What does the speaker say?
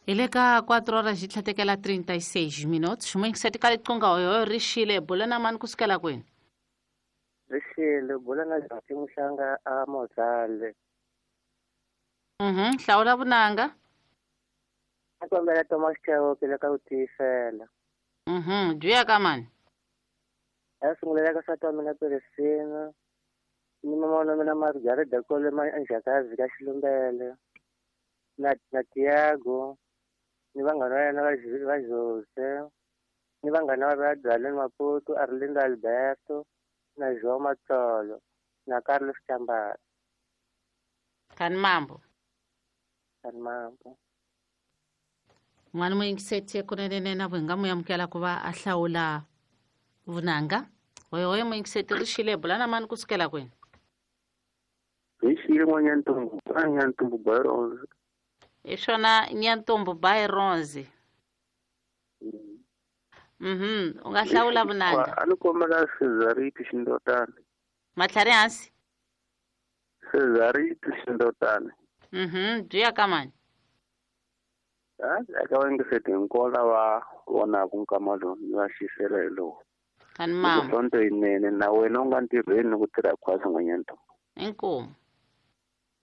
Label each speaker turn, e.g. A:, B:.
A: Hi le ka 4 horas yi tlhatekela 36 minutos. Muyingiseti ka liqunga hoyo ri xile, bula na mani kusukela kwini?
B: Ri xile, bula na Jati Muhlanga a Mozale.
A: Hlawula vunanga.
B: A kombela Thomas Chauke le ka ku tiyisela.
A: Byi ya ka mani?
B: A sungulela ka nsati wa mina Peresina, ni mama wa mina Margarida Kole Manjakazi ka Xilumbele, na Tiago, ni vanghana va yena va Jose, ni vanghana va Dwaleni Maputo, Arlindo Alberto, na João Matsolo, na Carlos Chambara.
A: Kani mambo.
B: Kani mambo.
A: N'wana muyingiseti kunene na vu hi nga mu amukela ku va a hlawula vunanga. Hoyo hoyo muyingiseti ri xile, bula na mani kusukela kwini?
C: Hi xile n'wanyantumbu, a Nyantumbu Byronzi.
A: Hi swona Nyantumbu Byronzi. U nga hlawula vunanga.
C: A ni kombela Cesariti Xindotani.
A: Matlhari hansi?
C: Cesariti Xindotani.
A: Byi ya ka mani?
C: Eka vayingiseti hinkwavo lava vonaka nkama lowu ni va xisela hi lowu.
A: Kani mama.
C: Sonto yinene na wena u nga ntirhweni ni ku tirha khwatsi n'wanyantumbu.
A: Inkomu.